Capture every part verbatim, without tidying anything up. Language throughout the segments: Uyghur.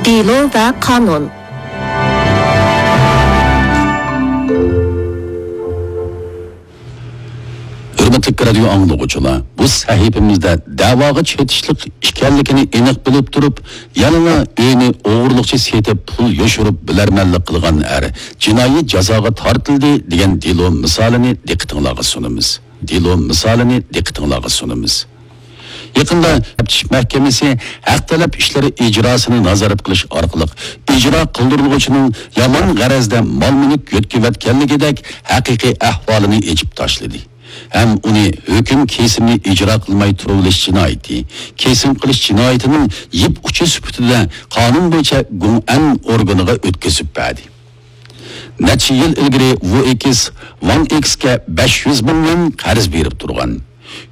دېلو ۋە قانۇن. ھۆرمەتلىك رادىيو ئاڭلىغۇچىلار، بۇ سەھىپىمىزدە دەۋاغا چېتىشلىق ئىكەنلىكىنى ئېنىق بىلىپ تۇرۇپ، يەنىلا ئۆينى ئوغرىلىقچە سېتىپ پۇل يوشۇرۇپ بىلەرمەنلىك قىلغان ئەر جىنايى جازاغا تارتىلدى دېگەن دېلو مىسالىنى دىققىتىڭلارغا سۇنىمىز. دېلو مىسالىنى دىققىتىڭلارغا سۇنىمىز. يېقىندا تەپتىش مەھكىمىسى ھەق تەلەپ ئىشلىرى ئىجراسىنى نازارەت قىلىش ئارقىلىق ئىجرا قىلدۇرۇلغۇچىنىڭ يامان غەرەزدە مال-مۈلۈك يۆتكىۋەتكەنلىكىدەك ھەقىقىي ئەھۋالىنى ئېچىپ تاشلىدى ھەم ئۇنى ھۆكۈم كېسىمى ئىجرا قىلماي تۇرۇۋېلىش جىنايىتى، كېسىم قىلىش جىنايىتىنىڭ يىپ ئۇچى سۈپىتىدە قانۇن بويىچە گۇڭئەن ئورگىنىغا ئۆتكۈزۈپ بەردى. نەچچە يىل ئىلگىرى ۋۇ ئېكس ۋاڭ ئېكسكە بەش يۈز مىڭ يۈەن قەرز بېرىپ تۇرغان.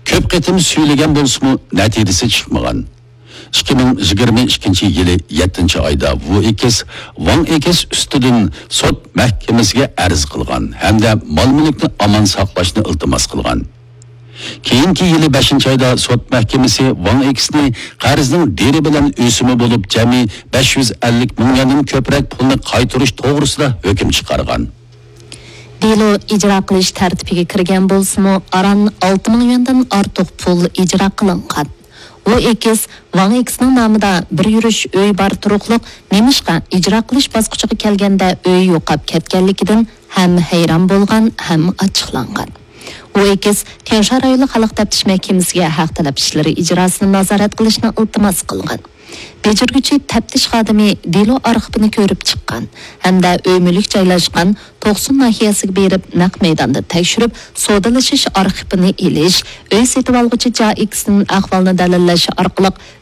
كۆپ قېتىم سۈيلىگەن بولسىمۇ، نەتىجىسى چىقمىغان. ئىككى مىڭ يىگىرمە ئىككىنچى يىلى يەتتىنچى ئايدا ۋۇ ئېكس ۋاڭ ئېكس ئۈستىدىن سوت مەھكىمىسىگە ئەرز قىلغان ھەمدە مال-مۈلۈكنى ئامان ساقلاشنى ئىلتىماس قىلغان. كېيىنكى يىلى بەشىنچى ئايدا سوت مەھكىمىسى ۋاڭ ئېكسنى قەرزنىڭ دېرى بىلەن ئۆسۈمى بولۇپ جەمئىي بەش يۈز ئەللىك مىڭ يۈەندىن كۆپرەك پۇلنى قايتۇرۇش توغرىسىدا ھۆكۈم چىقارغان. دېلو ئىجرا قىلىش تەرتىپىگە كىرگەن بولسىمۇ، ئاران ئالتە مىڭ يۈەندىن ئارتۇق پۇل ئىجرا قىلىنغان. ۋۇ ئېكس ۋاڭ ئېكسنىڭ نامىدا بىر يۈرۈش ئۆي بار تۇرۇقلۇق، نېمىشقا ئىجرا قىلىش باسقۇچىغا كەلگەندە ئۆيى يوقاپ كەتكەنلىكىدىن ھەم ھەيران بولغان، ھەم ئاچچىقلانغان. ۋۇ ئېكس تيەنشا رايونلۇق خەلق تەپتىش مەھكىمىسىگە ھەق تەلەپ ئىشلىرى ئىجراسىنى نازارەت قىلىشنى ئىلتىماس قىلغان. بېجىرگۈچى تەپتىش خادىمى دېلو ئارخىپىنى كۆرۈپ چىققان ھەمدە ئۆي-مۈلۈك جايلاشقان توقسۇن ناھىيەسىگە بېرىپ، نەق مەيداندا تەكشۈرۈپ، سودىلىشىش ئارخىپىنى ئېلىش، ئۆي سېتىۋالغۇچى جا ئېكسنىڭ ئەھۋالىنى دەلىللەش ئارقىلىق